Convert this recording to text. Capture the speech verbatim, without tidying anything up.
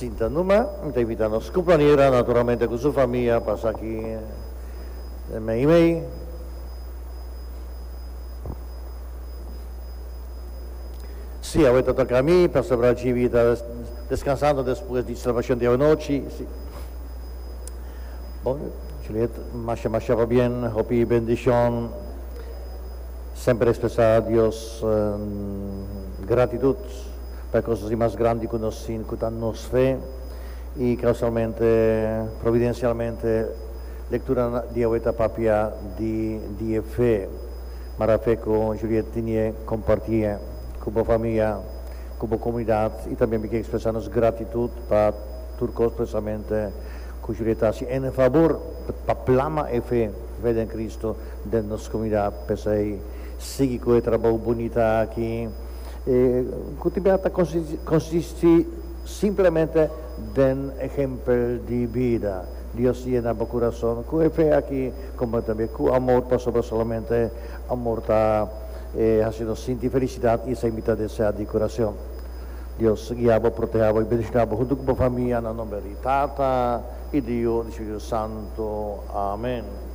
Sinta numa, mi ta invitá nos kumpleañera, naturalmente ku su famia, pasa aki mei mei. Sí, awe ta toka mi, Pastor Rajivi ta deskansando despues di selebrashon di awanochi. Sí. Bon, Juliet, masha masha pabien, hopi bendishon. Semper ekspresá Dios gratitut pa e kosnan mas grandi ku nos tin, ku ta nos fe. I kausalmente, providensialmente, lektura di awe ta papia di di e fe. Mara fe ku Juliet tinie kompartié ku bo famia, ku bo komunidat i tambe mi ke ekspresá nos gratitut pa tur kos presamente ku Juliet ta hasi en fabor pa plama e fe, fe den Cristo den nos komunidat. P'esei sigui ku e trabou bunita aki ku tin bia ta konsistí simplemente den ehempel di bida. Dios yena bo kurason ku e fe aki komo tambe ku amor, pasobra solamente amor ta hasi nos sinti felisidat i esei mi ta deseá di kurason. Dios guia bo, protehá bo i bendishoná bo huntu ku bo famia na nomber di Tata i di Yu i di Spiritu Santu. Amen.